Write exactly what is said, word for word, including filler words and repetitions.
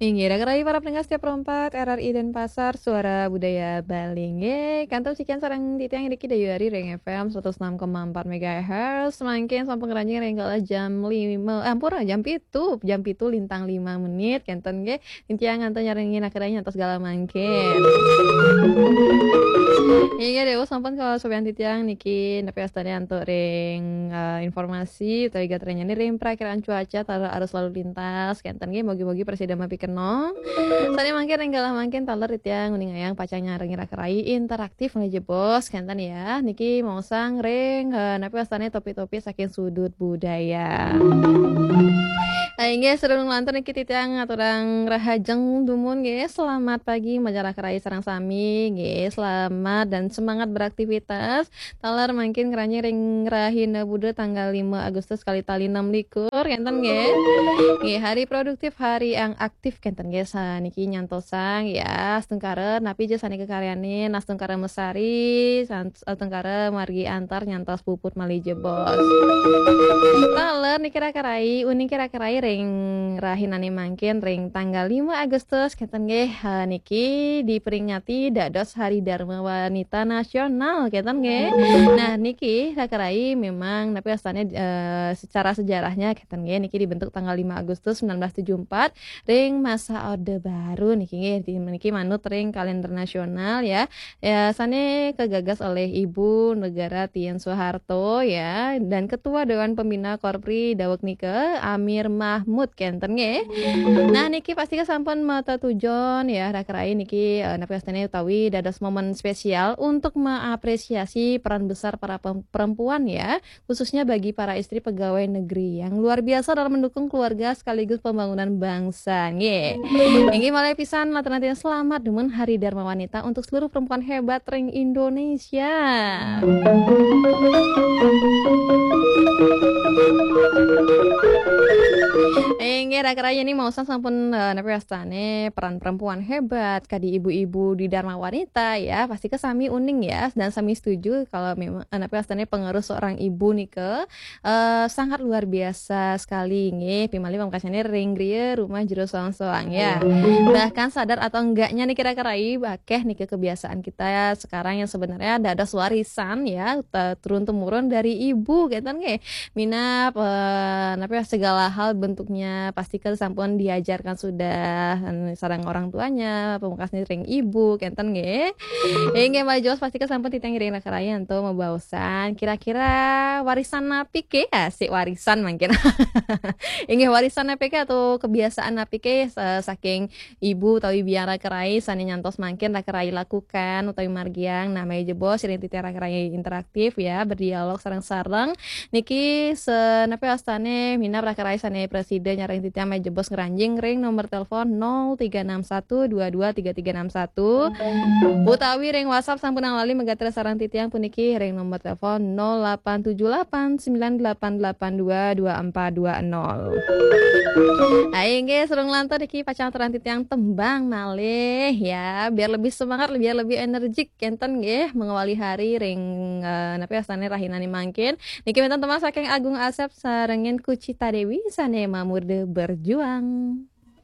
Inggih, raga rayi para pendengar setia Pro empat R R I Denpasar, Suara Budaya Bali. Inggih, kantun sekian sareng titiang niki dayuh ari ring F M seratus enam koma empat megahertz. Mangkin sampun ngranjing ring galah jam lima, eh, ampura, jam pitu, jam pitu lintang lima menit, kenten nggih. Titiang ngantun nyarengin akhirnya nyantos galah mangkin. Inggih, dawuh sampun kawastanin titiang niki, napi wastane antuk ring, eh, informasi utawi gatranyane ring prakiraan cuaca taler arus lalu lintas, kenten nggih, mugi-mugi prasida mapikenoh. Sane mangkin ring galah mangkin taler titiang nguningayang pacang nyarengin raga rayi interaktif malih jebos, kenten ya. Niki maosang ring, eh, napi wastane topik-topik saking sudut budaya. Ah, inggih, sadurung lantur niki titiang ngaturang rahajeng dumun nggih. Selamat pagi, majeng raga rayi sareng sami nggih. Selamat dan semangat beraktivitas. Taler mangkin ngranjing ring rahina Buda tanggal lima Agustus kalih tali enam likur, kenten nggih. Nggih, hari produktif, hari yang aktif, kenten nggih. Saniki nyantosang ya, astungkara napi ja sane kakaryanin, astungkara mesari, san-, astungkara margi antar nyantos puput malih jebos. Taler niki raga rayi, uning raga rayi ring rahinane mangkin ring tanggal lima Agustus, kenten nggih, eh, niki diperingati dados Hari Dharma Wanita Nasional, kenten nggih. Nah, niki raga rayi memang napi wastane, eh, secara sejarahnya, kenten nggih, niki dibentuk tanggal lima Agustus sembilan belas tujuh empat ring masa Orde Baru niki nggih, di, niki manut ring kalender nasional ya. Ya, sane kagagas oleh Ibu Negara Tien Soeharto ya, dan Ketua Dewan Pembina Korpri daweg nika, Amir Mahmud, kenten nggih. Nah, niki pastika sampun matetujon ya, raga rayi niki, eh, napi wastane utawi dados momen spesial untuk mengapresiasi peran besar para pem-, perempuan ya, khususnya bagi para istri pegawai negeri yang luar biasa dalam mendukung keluarga sekaligus pembangunan bangsa. Nggih. Inggih, malih pisan, lanturang selamat dumun Hari Dharma Wanita untuk seluruh perempuan hebat ring Indonesia. Inggih, raga rayi niki maosang sampun, eh, napi wastane peran perempuan hebat, kadi ibu-ibu di Dharma Wanita ya, pastika sami uning ya, dan sami setuju kalau memang, eh, napi wastane pengaruh seorang ibu nika, eh, sangat luar biasa sekali nggih. Pimalih pamekasane ring griya rumah jero soang-soang ya. Bahkan sadar atau enggaknya niki raga rayi, akeh niki kebiasaan kita sekarang yang sebenarnya dados warisan ya, te-, turun-temurun dari ibu, kenten nggih. Minab, eh, napi ya, segala hal bentuknya pasti kan sampun diajarkan sudah, eh, sareng orang tuanya, pamekasane ring ibu, kenten nggih. Inggih, malih jebos pastika sampun titiang ngiring raga rayi antuk mabaosan. Kira-kira warisan napi ke? Asik, warisan mangkin. Inggih, warisan napi ke atau kebiasaan napi ke sa-, saking ibu utawi biang raga rayi sane nyantos mangkin raga rayi lakukan utawi margiang? Nah, malih jebos ring titiang raga rayi interaktif ya, berdialog sareng-sareng. Niki sa-, napi wastane minab raga rayi sane prasida nyarengin titiang malih jebos ngranjing ring nomor telepon nol tiga enam satu dua dua tiga tiga enam satu, utawi ring WhatsApp sampun lali magatra sareng titiang puniki ring nomor telepon nol delapan tujuh delapan sembilan delapan delapan dua dua empat dua nol. Ayo nggih, sadurung lantur niki pacang aturang titiang tembang malih ya, biar lebih semangat, biar lebih energik, kenten nggih, mengawali hari ring, eh, napi wastane rahinane mangkin. Niki wenten tembang saking Agung Asep sarengin Kucita Dewi sane mamurda Berjuang.